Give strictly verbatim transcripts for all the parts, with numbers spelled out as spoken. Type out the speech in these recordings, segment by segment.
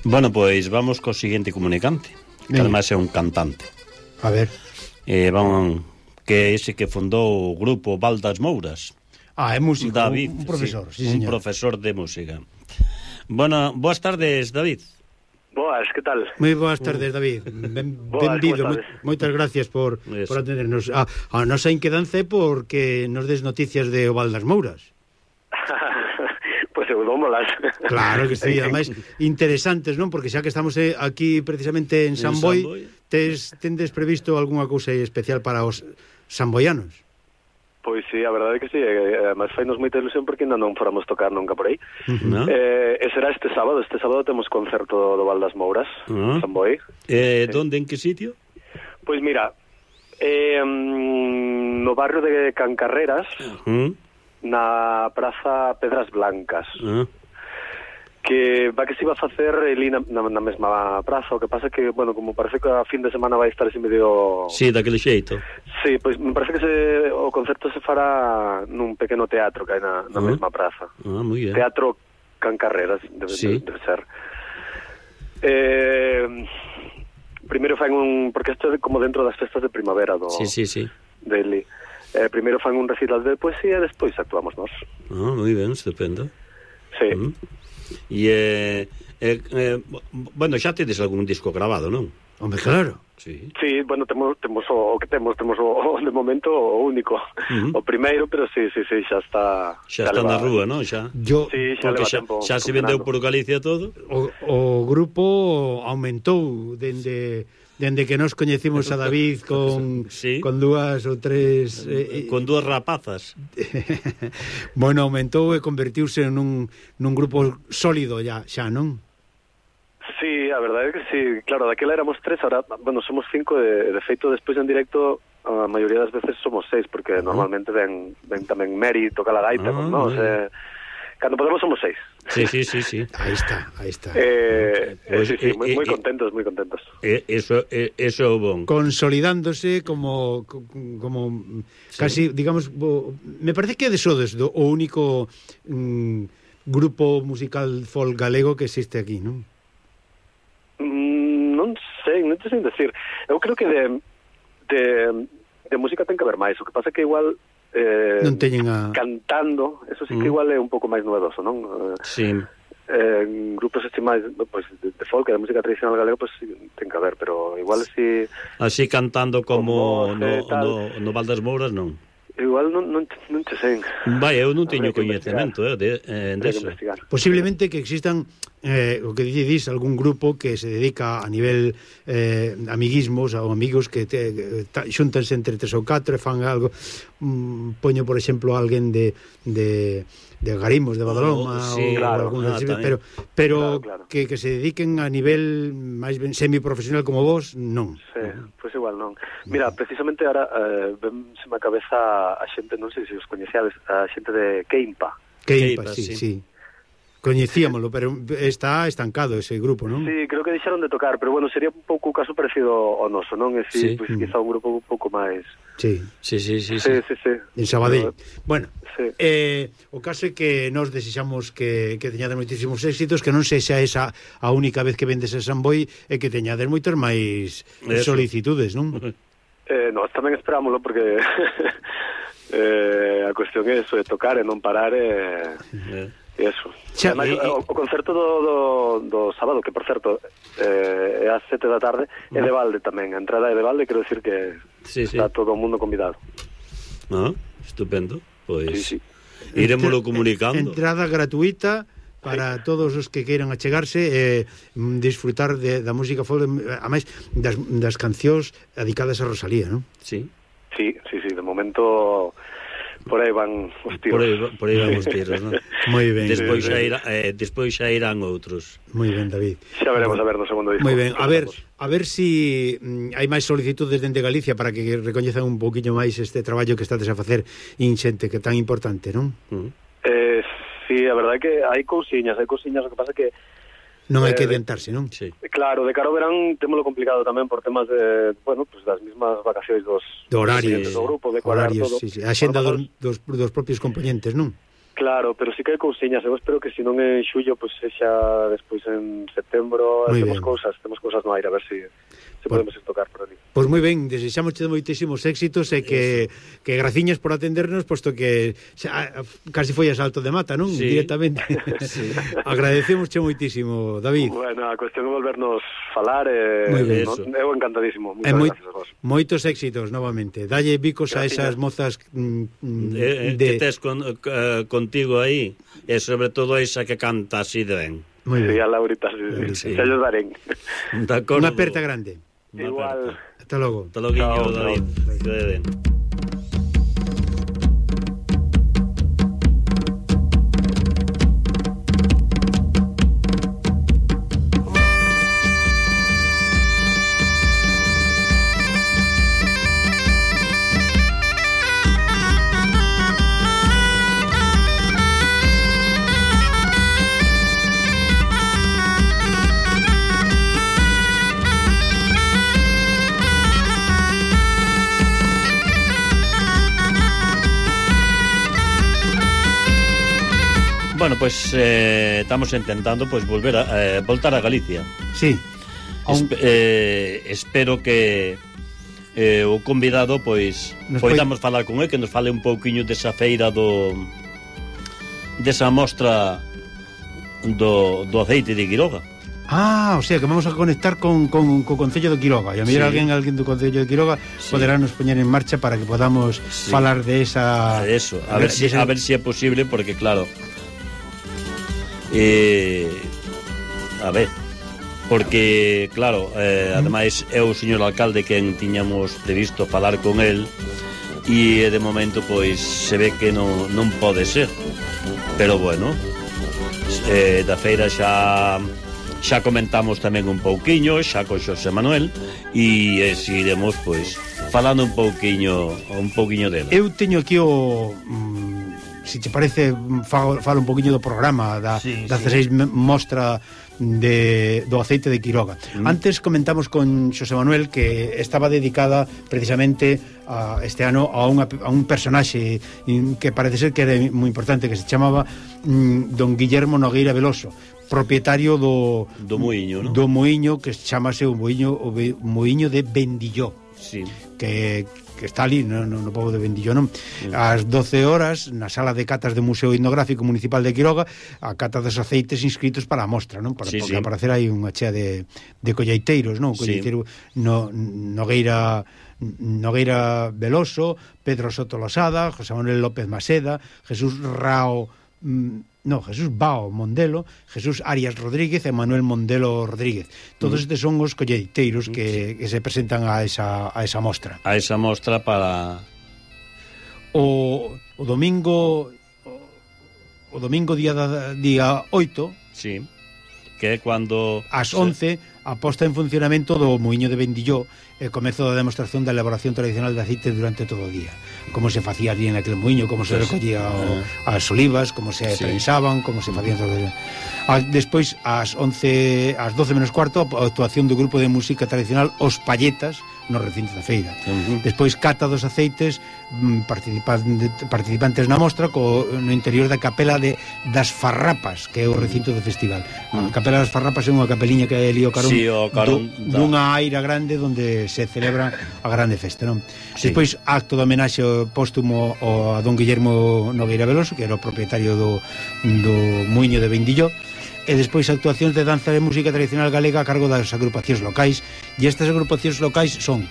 Bueno, pois vamos co seguinte comunicante, que ademais é un cantante. A ver. Eh, vamos, que é ese que fundou o grupo Val das Mouras. Ah, é músico, David, un, un profesor, sí, sí, un señor. profesor de música. Bueno, boas tardes, David. Boas, que tal? Moi boas tardes, David. Ben, Boas, benvido. como Mo, estades? moitas gracias por, Eso. por atendernos. A, a nosa inquedanza é porque nos des noticias de o Val das Mouras. Pois eu dómolas. Claro que sí, ademais interesantes, non? Porque xa que estamos eh, aquí precisamente en San En Boi, San Boi. tes, tendes previsto algunha cousa especial para os samboianos? Pois sí, a verdade é que sí, e, además fainos moita ilusión porque ainda non fóramos tocar nunca por aí. ¿No? Eh, e será este sábado, este sábado temos concerto do Val das Mouras, Ah. San Boi. Eh, donde, en que sitio? Pois mira, eh, no barrio de Cancarreras, ¿Mm? na Praza Pedras Blancas, Ah. que va que se iba a facer ali na, na, na mesma praza, o que pasa que, bueno, como parece que a fin de semana vai estar así medio... Sí, daquele xeito. Sí, pois me parece que se, o concerto se fará nun pequeno teatro que hai na, na Ah. mesma praza. Ah, moi ben. Teatro Cancarreras, debe, Sí. debe ser. Eh, primeiro fan un... Porque isto é como dentro das festas de primavera do, Sí, sí, sí. dele. Eh, primeiro fan un recital de poesía e despois actuamos nós. Ah, moi ben, estupendo. Sí. Mm. E, eh, eh, eh, bueno, xa tedes algún disco grabado, non? Hombre, claro. Sí. Sí, bueno, temos temos o, o que temos, temos o, o de momento o único. Uh-huh. O primeiro, pero sí, sí, sí, xa está... Xa está na rúa, non? Xa. Yo, Sí, xa Porque leva xa, tempo xa se vendeu por Galicia todo. o, o grupo aumentou dende... Dende que nos coñecimos a David con, Sí. con dúas ou tres eh, Con dúas rapazas. bueno, aumentou e convertiuse nun, nun grupo sólido ya, xa, non? Sí, a verdade é que sí. Claro, daquela éramos tres, ahora, bueno, somos cinco, de, de feito, despois en directo, a maioría das veces somos seis, porque uh-huh. normalmente ven, ven tamén Mary, toca la gaita, Ah, con nós, eh, cando podemos somos seis. Sí, sí, sí, sí. Aí está, aí está. Eh, Pues, eh, sí, sí, eh, moi, eh, moi eh, contentos, moi contentos. Eh, eso, eh, eso é o bon. Consolidándose como como Sí. casi, digamos, bo, me parece que de sodes do, o único mm, grupo musical folk galego que existe aquí, non? Mm, non sei, non te sei decir. Eu creo que de, de, de música ten que haber máis. O que pasa é que igual eh, Non teñen a... cantando, eso sí que Mm. igual é un pouco máis novedoso, non? Eh, Sí. eh, en grupos así máis pues, de, de folk, de música tradicional galega, pues sí, ten que haber, pero igual si Así cantando como Como, no, eh, tal. no, no Val das Mouras, non. igual non, non, non te sei. Vai, eu non teño Habría que coñecemento eh, de, eh, Habría que deso. investigar. Posiblemente que existan eh, o que dicís, algún grupo que se dedica a nivel eh, amiguismos ou amigos que te, ta, xuntanse entre tres ou catro e fan algo, mm, poño por exemplo alguén de, de, de Garimos, de Badaloma, Oh, sí, ou claro, algún ah, así, tamén. pero, pero Claro, claro. Que, que se dediquen a nivel máis ben semiprofesional como vos, non. Sí, pois pues igual non. Mira, precisamente ahora eh, ven se me a cabeza a xente, non sei se os coñeceades, a xente de Keimpa. Que Keipa, sí, sí. sí. Coñecíamolo, pero está estancado ese grupo, non? Sí, creo que deixaron de tocar, pero bueno, sería un pouco o caso parecido ao noso, non? E Sí. si, pois quizá un grupo un pouco máis... Sí, Sí, sí, sí, Sí, sí. sí, sí. en Sabadell. Pero, Bueno, sí. eh, o caso é que nós desexamos que, que teñades moitísimos éxitos, que non sexa esa a única vez que vendes a San Boi e que teñades moitas máis Eso. solicitudes, non? Eh, nós tamén esperámoslo porque eh, a cuestión é eso, de tocar e non parar e... Eh. E eso. Xa, Ademais, e- e- o, o concerto do, do, do sábado, que por certo eh, é ás sete da tarde, é de balde tamén. A entrada é de balde, quero decir que Sí, sí. está todo o mundo convidado. Ah, estupendo. Pois Sí, sí. iremoslo Entra- comunicando. Entrada gratuita para todos os que queiran achegarse e eh, disfrutar de, da música folk, a máis das, das cancións dedicadas a Rosalía, non? Sí. Sí, sí, sí, de momento por aí van os tiros. Por aí, por aí van os tiros, non? Moi ben. Despois sí, xa sí. irá, eh, despois xa irán outros. Moi ben, David. Xa veremos a ver no segundo disco. Moi ben, a ver, a ver si mm, hai máis solicitudes dende Galicia para que recoñezan un poquinho máis este traballo que estades a facer inxente, que é tan importante, non? Uh -huh. Eh, sí, a verdade é que hai cousiñas, hai cousiñas, o que pasa que Non hai que Eh, adiantarse, non? Sí. claro, de cara ao verán témolo complicado tamén por temas de, bueno, pues das mismas vacacións dos Do horario, dos do grupo, de cuadrar horarios, todo. sí, sí. A xenda A lo dos, mejor- dos, dos propios componentes, non? Claro, pero sí que hai cousiñas. Eu espero que se non en xullo, pois pues, sexa despois en setembro. Muy temos bien. cousas, temos cousas no aire, a ver se si, si podemos ir tocar por ali. Pois moi ben, desexamos moitísimos éxitos e que, que graciñas por atendernos, posto que xa, casi foi a salto de mata, non? Sí. Directamente. Sí. Agradecemosche moitísimo, David. Bueno, a cuestión é volvernos falar e Moi ben. no, eu encantadísimo. Moitas E moi, gracias a vos. moitos éxitos novamente. Dalle bicos a esas mozas mm, Eh, eh, de... que tes con, eh, contigo aí, e sobre todo esa que canta así de ben. Moi Sí, ben. a Laurita, sí, Sí. sí. Xa lles darén. De acordo. Unha aperta grande. Unha Igual. aperta. Hasta logo. Hasta logo, Chao, David. chao. Que vaya ben. Bueno, pues eh, estamos intentando pues volver a eh, voltar a Galicia. Sí. Espe eh, espero que eh, o convidado pois Nos poidamos falar con ele, que nos fale un pouquiño desa feira do desa mostra do, do aceite de Quiroga. Ah, o sea, que vamos a conectar con, con, co Concello de Quiroga. E a mellor Sí. alguén, alguén do Concello de Quiroga Sí. poderá nos poñer en marcha para que podamos Sí. falar de esa... A eso, a ver si de esa- a ver si é posible, porque claro, eh, a ver, porque claro, eh, ademais é o señor alcalde quen tiñamos previsto falar con el, e de momento pois se ve que non, non pode ser, pero bueno, eh, da feira xa xa comentamos tamén un pouquiño xa con Xosé Manuel, e eh, seguiremos pois falando un pouquiño un pouquiño dela. Eu teño aquí o... Mm, si te parece, falo, falo un poquinho do programa da, Sí, da sí. dezaseis mostra de, do aceite de Quiroga. Mm. Antes comentamos con Xosé Manuel que estaba dedicada precisamente a, este ano a, unha, a un personaxe que parece ser que era moi importante, que se chamaba mm, don Guillermo Nogueira Veloso, propietario do Do muiño, non? do muiño que chamase o muiño o be, muiño de Bendilló, Sí. que, que está ali no, no, no pobo de Bendilló, non? Ás doce horas na sala de catas do Museo Etnográfico Municipal de Quiroga, a cata dos aceites inscritos para a mostra, non? Para, Sí, porque sí. aparecer aí unha chea de, de colleiteiros, non? Sí. Colleiteiro no, Nogueira Nogueira Veloso, Pedro Soto Losada, José Manuel López Maseda, Jesús Rao mm, no, Jesús Bao Mondelo, Jesús Arias Rodríguez e Manuel Mondelo Rodríguez. Todos estes son os colleiteiros que, que se presentan a esa, a esa mostra. A esa mostra para... O, o domingo o, o domingo día da, día oito, Sí, que é cando... ás once, a posta en funcionamento do muiño de Bendilló e comezo da demostración da elaboración tradicional de aceite durante todo o día. Como se facía ali en aquel muiño, como se Pues, recollía o, ah. as olivas, como se Sí. prensaban, como se facían todo eso. A, despois, ás once, ás doce menos cuarto, a actuación do grupo de música tradicional Os Palletas no recinto da feira. Uh-huh. Despois cata dos aceites mm, participan- participantes na mostra co, no interior da capela de das Farrapas, que é o recinto do festival. A capela das Farrapas é unha capeliña que hai ali o carón, Sí, o carón do, da- dunha aira grande onde se celebra a grande festa, non? Sí. Despois acto de homenaxe póstumo ao a don Guillermo Nogueira Veloso, que era o propietario do, do muiño de Bendilló, e despois actuacións de danza e música tradicional galega a cargo das agrupacións locais, e estas agrupacións locais son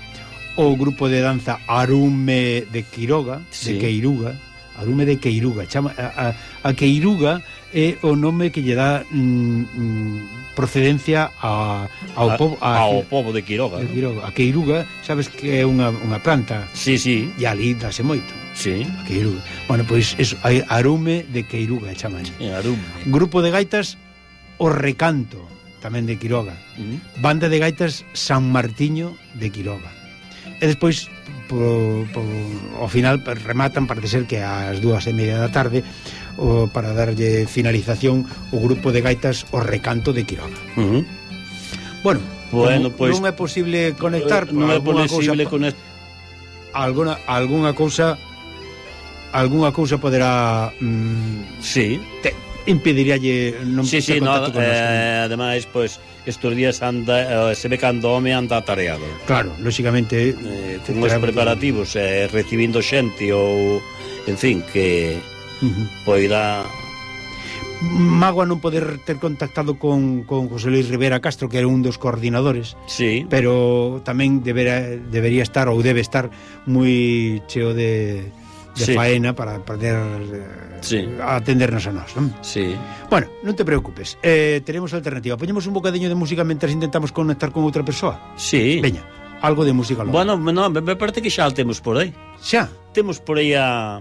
o grupo de danza Arume de Quiroga, Sí. de Queiruga, Arume de Queiruga, chama, a, a, a Queiruga é o nome que lle dá mm, mm, procedencia a, ao A- povo ao povo de Quiroga, de ¿no? Quiroga. A Queiruga, sabes que é unha, unha planta, Sí, sí, e ali dase moito. sí. A Queiruga. Bueno, pois eso, hai Arume de Queiruga, chaman. En Arum. Grupo de gaitas O Recanto, tamén de Quiroga. Uh-huh. Banda de gaitas San Martiño de Quiroga. E despois, po, po, ao final, rematan, parece ser que ás dúas e media da tarde, o, para darlle finalización o grupo de gaitas O Recanto de Quiroga. Uh-huh. Bueno, Bueno, como pois- non é posible conectar, non é alguna posible cousa, con... alguna, alguna cousa algunha cousa poderá mm, sí. te, impediríalle non sí, sí, ter no, contacto con nós. eh, ademais, pois, estes días anda, eh, se ve cando home anda atareado. Claro, lóxicamente eh, con os preparativos, eh, recibindo xente ou, en fin, que uh-huh. poida... Mágoa non poder ter contactado con, con José Luis Rivera Castro, que era un dos coordinadores, sí. pero tamén deberá, debería estar ou debe estar moi cheo de, de sí. faena para poder sí. atendernos a nós, non? Sí. Bueno, non te preocupes, eh, tenemos alternativa. Poñemos un bocadiño de música mentre intentamos conectar con outra persoa. Sí. Veña, algo de música local. Bueno, no, me parece que xa temos por aí. Xa? Temos por aí a...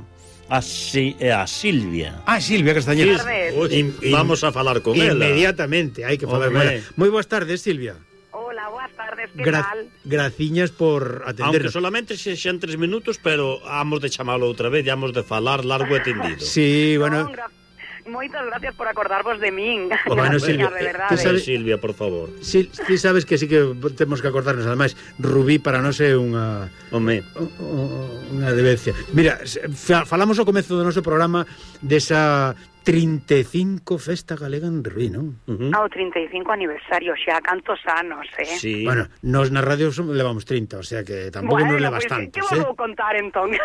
A, si, a Silvia. Ah, Silvia Castañeda. Uy, vamos a falar con ela. Inmediatamente, hai que falar con ela. Moi boas tardes, Silvia. Hola, boas tardes, que Gra tal? Graciñas por atendernos. Aunque solamente se xan tres minutos, pero hamos de chamalo outra vez, hamos de falar largo e tendido. Sí, bueno... No, moitas gracias por acordarvos de min. Bueno, Silvia, de verdade. sabes, Silvia, por favor. Si, si sabes que sí que temos que acordarnos, ademais, Rubí para nós é unha Home. unha debencia. Mira, falamos ao comezo do noso programa desa trinta e cinco Festa Galega en Rubí, non? Uh-huh. Ah, o trinta e cinco aniversario, xa cantos anos, eh? Sí. Bueno, nos na radio levamos trinta, o sea que tampouco bueno, nos levas pues, tantos, eh? Que vou contar, entón?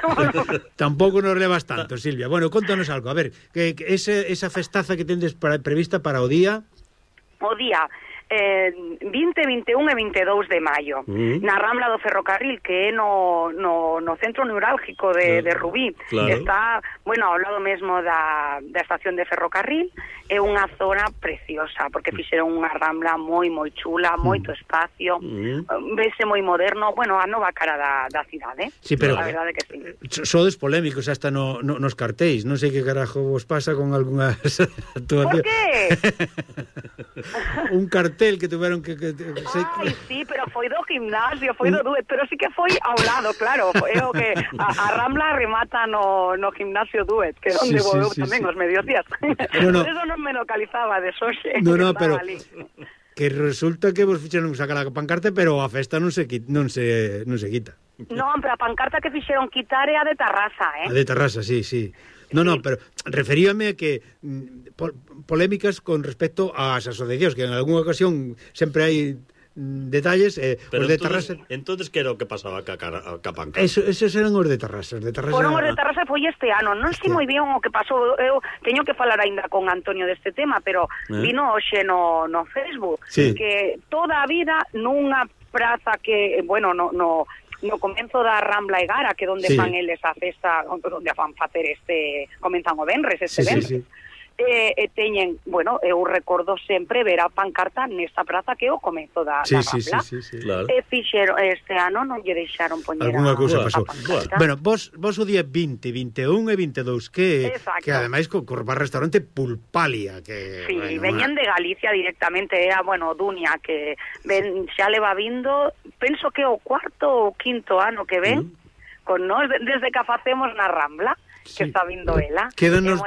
Tampouco nos levas tanto, Silvia. Bueno, contanos algo, a ver, que, que ese, esa festaza que tendes para, prevista para o día... O día... Eh, vinte, vinte e un e vinte e dous de maio mm. na Rambla do Ferrocarril, que é no, no, no centro neurálgico de, de Rubí, claro. Está, bueno, ao lado mesmo da, da estación de ferrocarril. É unha zona preciosa, porque fixeron unha Rambla moi, moi chula, moito espacio, mm. vese moi moderno, bueno, a nova cara da, da cidade. Sí, pero a verdade que sí. Sodes polémicos hasta no, no, nos cartéis, non sei que carajo vos pasa con algunhas ¿Por actuacións. qué? Un cartel que tuveron que... que, que se... Ai, sí, pero foi do gimnasio, foi do Duet, pero sí que foi ao lado, claro. Foi o que a, a Rambla remata no, no gimnasio Duet, que é onde sí, vou sí, tamén sí. Os mediodías. No, no. Por eso non me localizaba de xoxe. No, no, pero... Ali. Que resulta que vos fixeron sacar a pancarta, pero a festa non se, non se, non se quita. Non, pero a pancarta que fixeron quitar é a de Tarrasa, eh? A de Tarrasa, sí, sí. No, no, pero referíame a que po, polémicas con respecto ás asociacións, que en algunha ocasión sempre hai detalles, eh, pero os de entonces, Tarrasa... Entonces que era o que pasaba ca, ca, ca pancarta? Eso, esos eran os de Tarrasa, os de Tarrasa... Foron os de Tarrasa foi este ano, non sei moi bien o que pasou, eu teño que falar aínda con Antonio deste tema, pero eh? vino hoxe no, no Facebook, sí. Que toda a vida nunha praza que, bueno, no... no no comenzo da Rambla Egara, que é onde sí. fan eles a festa, onde van facer este, comenzan o venres, este sí, venres. Sí, sí. Eh, e teñen, bueno, eu recordo sempre ver a pancarta nesta praza que é o comezo da, sí, da Rambla. Sí, sí, sí, sí. Claro. E fixeron, este ano non lle deixaron poñer alguna cousa a, pasou. A bueno, vos, vos o día vinte, vinte e un e vinte e dous, que, que ademais co, co restaurante Pulpalia, que... Sí, bueno, veñen de Galicia directamente, era, bueno, Dunia, que ven, xa le va vindo, penso que o cuarto ou quinto ano que ven, mm. con nós, desde que facemos na Rambla, que sí. Está vindo ela. Quédanos,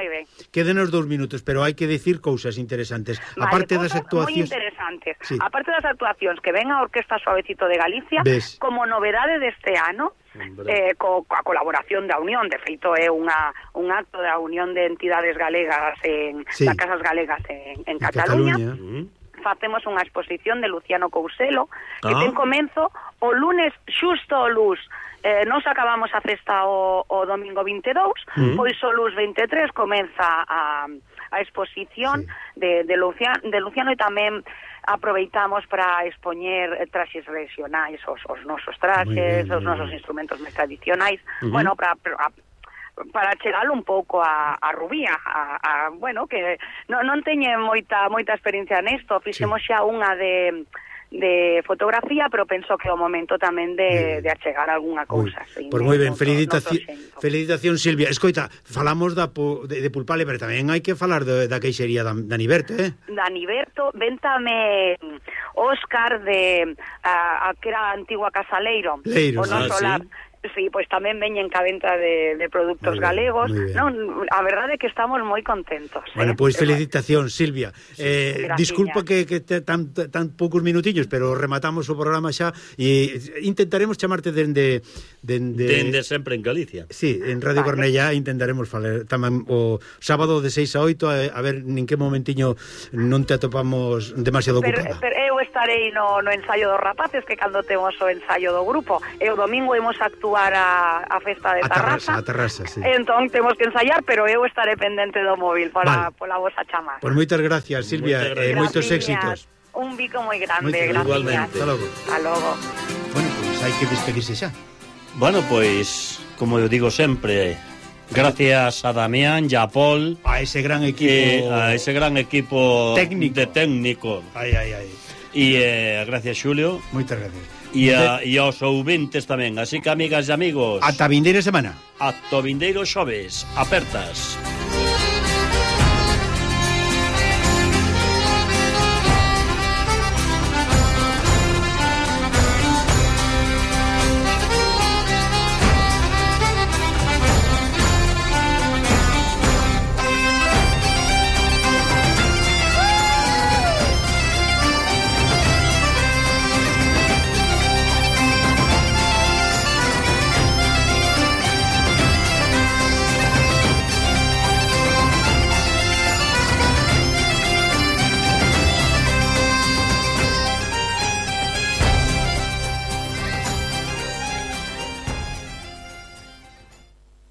quédanos dous minutos, pero hai que decir cousas interesantes. Vale, aparte das actuacións... moi interesantes. Sí. Aparte das actuacións que ven a Orquesta Suavecito de Galicia, ¿ves? Como novedade deste ano, eh, co, coa colaboración da Unión, de feito é unha, un acto da Unión de Entidades Galegas en, sí. das Casas Galegas en, en, en Cataluña. Cataluña. Uh-huh. Facemos unha exposición de Luciano Couselo, que ah. ten comenzo o lunes xusto o luz. Eh, nos acabamos a festa o, o domingo vinte e dous, mm. pois o luz vinte e tres comeza a, a exposición sí. de, de, Luciano, de Luciano, e tamén aproveitamos para expoñer traxes regionais, os, os nosos traxes, bien, os nosos instrumentos máis tradicionais, uh-huh. bueno, para... para para chegalo un pouco a, a Rubí, a, a, bueno, que non, non teñe moita moita experiencia nesto, fixemos sí. xa unha de de fotografía, pero penso que é o momento tamén de, de achegar algunha cousa. Pois pues moi ben, felicitación, felicitación Silvia. Escoita, falamos da de, de Pulpalia, pero tamén hai que falar de, da queixería da, da Niberto, eh? Da Niberto, véntame Óscar de a, a que era a antigua Casa Leiro. Leiro, o noso ah, lar. sí. Sí, pois tamén veñen ca venta de, de produtos bien, galegos. Non, a verdade é que estamos moi contentos. Bueno, eh? pois pues, felicitacións, Silvia. Sí, eh, disculpa que, que te, tan, tan poucos minutiños, pero rematamos o programa xa e intentaremos chamarte dende... Dende, dende sempre en Galicia. Sí, en Radio vale. Cornellá intentaremos falar tamén o sábado de seis a oito, a, a ver nin que momentiño non te atopamos demasiado pero, ocupada. Pero eu estarei no, no ensaio dos rapaces, que cando temos o ensaio do grupo, e o domingo imos actuar a, a festa de a Tarrasa, a Tarrasa, sí. Entón temos que ensaiar, pero eu estaré pendente do móvil para vale. pola vosa chamada. Pois moitas gracias, Silvia, e eh, moitos éxitos. Un bico moi grande, gracias. Igualmente. Hasta logo. Hasta logo. Bueno, pois pues hai que despedirse xa. Bueno, pois, como eu digo sempre, gracias a Damián e a Paul, a ese gran equipo, eh, a ese gran equipo técnico. de técnico. Ai, ai, ai. E eh, gracias, Xulio. Moitas gracias. E, a, e aos ouvintes tamén. Así que, amigas e amigos, ata vindeira semana. ata vindeiro xoves. Apertas.